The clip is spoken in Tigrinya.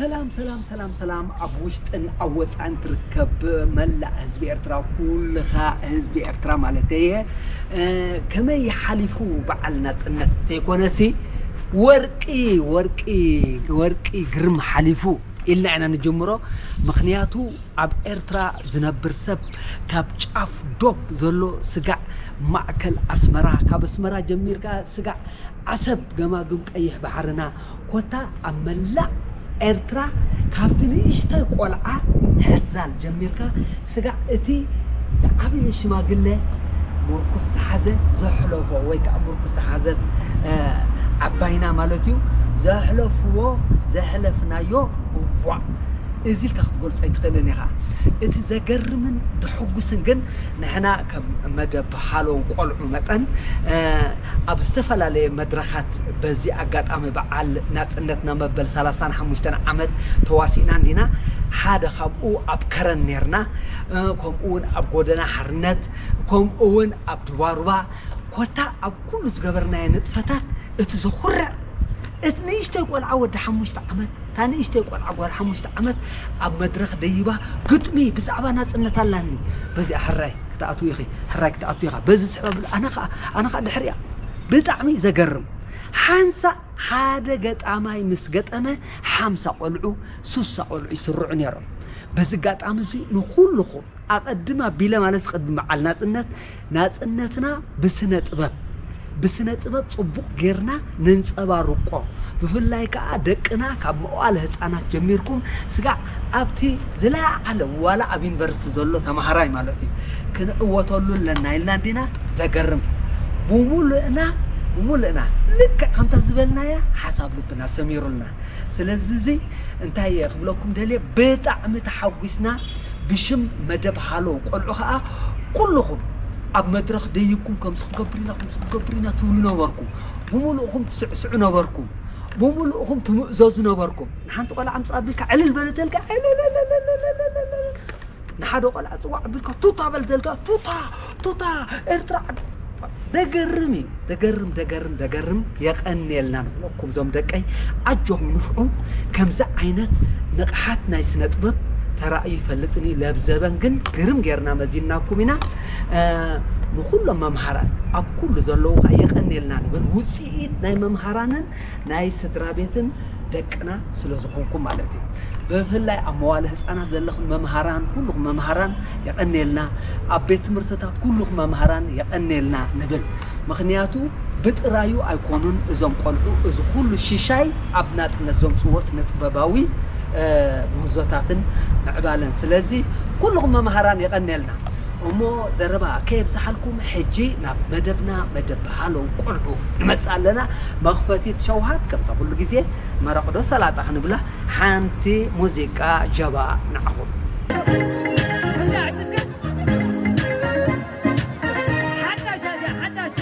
ሰላም ሰላም ሰላም ሰላም፣ ኣብ ውሽጥን ኣብ ወፃእን ትርከብ መላእ ህዝቢ ኤርትራ፣ ኩልኻ ህዝቢ ኤርትራ ማለት እየ። ከመይ ሓሊፉ በዓል ናፅነት ዘይኮነሲ፣ ወርቂ ወርቂ ወርቂ ግርም ሓሊፉ ኢልና ኢና ንጀምሮ። ምኽንያቱ ኣብ ኤርትራ ዝነብር ሰብ ካብ ጫፍ ዶብ ዘሎ ስጋዕ ማእከል ኣስመራ፣ ካብ ኣስመራ ጀሚርካ ስጋዕ ዓሰብ፣ ገማግም ቀይሕ ባሕርና፣ ኮታ ኣብ መላእ ኤርትራ፣ ካብቲ ንእሽተይ ቆልዓ ሕዛል ጀሚርካ ስጋዕ እቲ ዝዓበየ ሽማግለ፣ ምርኩስ ዝሓዘ ዘሕለፎ ወይ ከዓ ምርኩስ ዝሓዘት ዓባይና ማለት እዩ፣ ዘሕለፍዎ ዘሕለፍናዮ፣ እዋእ፣ እዚ ኢልካ ክትገልጾ ኣይትኽእልን ኢኻ። እቲ ዘገርምን ዘሐጉስን ግን ንሕና ከም መደብ ሃሎ ቆልዑ መጠን ኣብ ዝተፈላለየ መድረኻት በዚ ኣጋጣሚ በዓል ናጽነትና መበል ሰላሳን ሓሙሽተን ዓመት ተዋሲእና እንዲና። ሓደ ካብኡ ኣብ ከረን ኔርና፣ ከምኡ እውን ኣብ ጎደና ሓርነት፣ ከምኡ እውን ኣብ ድባሩባ፣ ኮታ ኣብ ኩሉ ዝገበርናዮ ንጥፈታት እቲ ዘኹርዕ፣ እቲ ንእሽተይ ቆልዓ ወዲ ሓሙሽተ ዓመት፣ እታ ንእሽተይ ቆልዓ ጓል ሓሙሽተ ዓመት ኣብ መድረኽ ደይባ ግጥሚ ብዛዕባ ናጽነት ኣላኒ። በዚኣ ሕራይ ክትኣትዊ ኢኺ፣ ሕራይ ክትኣትዊ ኢኻ። በዚ ስዕብ ኣብል፣ ኣነ ኸኣ፣ ኣነ ኸኣ ድሕሪኣ። ብጣዕሚ ዘገርም። ሓንሳእ ሓደ ገጣማይ ምስ ገጠመ ሓምሳ ቆልዑ፣ ሱሳ ቆልዑ ይስርዑ ነይሮም። በዚ ኣጋጣሚ እዚ ንኹልኹም ኣቐድም ኣቢለ ማለት ቅድሚ በዓል ናጽነት፣ ናጽነትና ብስነ ጥበብ፣ ብስነ ጥበብ ጽቡቕ ጌርና ነንጸባርቆ። ብፍላይ ከኣ ደቅና ካብ መዋእለ ህጻናት ጀሚርኩም ስጋዕ ኣብቲ ዝለዓለ ዋላ ኣብ ዩኒቨርሲቲ ዘሎ ተማሃራይ ማለት እዩ፣ ክንዕወተሉ ኣለና ኢልና እንዲና። ዘገርም። ብሙሉእና፣ ብሙሉእና ልክዕ ከምታ ዝበልናያ ሓሳብ ልብና ሰሚሩልና። ስለዚ እዚ እንታይ እየ ክብለኩም ደልየ፣ ብጣዕሚ ተሓጒስና። ብሽም መደብ ሃሎ ቆልዑ ኸኣ ኩልኹም ኣብ መድረኽ ደይብኩም ከምዚ ክገብር ኢና፣ ከምዚ ክገብር ኢና ትብሉ ነበርኩም። ብምሉእኹም ትስዕስዑ ነበርኩም። ብምሉእኹም ትምእዘዙ ነበርኩም። ንሓንቲ ቆልዓ ኣምጽእ ኣቢልካ ዕልል በል ተልካ ዕልልልልልልልልልል። ንሓደ ቆልዓ ጽዋዕ ኣቢልካ ቱታ በል ተልካ ቱታ፣ ቱታ፣ ኤርትራ ዓድ-፣ ደገርም እዩ። ደገርም፣ ደገርም፣ ደገርም። የቐንየልና ንብለኩም ዞም ደቀይ። ኣጆኹም ንፍዑ። ከምዚ ዓይነት ንቕሓት ናይ ስነ ጥበብ ተራእዩ ይፈልጥን እዩ። ለብዘበን ግን ግርም ጌርና መዚንናኩም ኢና። እ፣ ንኹሎም መምሃራን ኣብ ኩሉ ዘለዉ ኸኣ የቐንየልና ንብል። ውጽኢት ናይ መምሃራንን ናይ ስድራ ቤትን ደቅና ስለ ዝኾንኩም ማለት እዩ። ብፍላይ ኣብ መዋለ ህጻናት ዘለኹም መምሃራን፣ ኩልኹም መምሃራን የቐንየልና። ኣብ ቤት ትምህርትታት ኩልኹም መምሃራን የቐንየልና ንብል። ምኽንያቱ ብጥራዩ ኣይኮኑን እዞም ቆልዑ፣ እዚ ኩሉ ሽሻይ ኣብ ናጽነት ዘምጽዎ ስነ ጥበባዊ፣ እ፣ ምህዞታትን ምዕባለን። ስለዚ ኩልኹም መምሃራን የቐንየልና። እሞ ዘረባ ከየብዝሓልኩም፣ ሕጂ ናብ መደብና፣ መደብ ሃሎ ቆልዑ ንመጽእ ኣለና። መኽፈቲት ሸውሃት ከምታ ኩሉ ግዜ መረቕ ዶ ሰላጣ ክንብላ፣ ሓንቲ ሙዚቃ ጀባ ንዓኹም።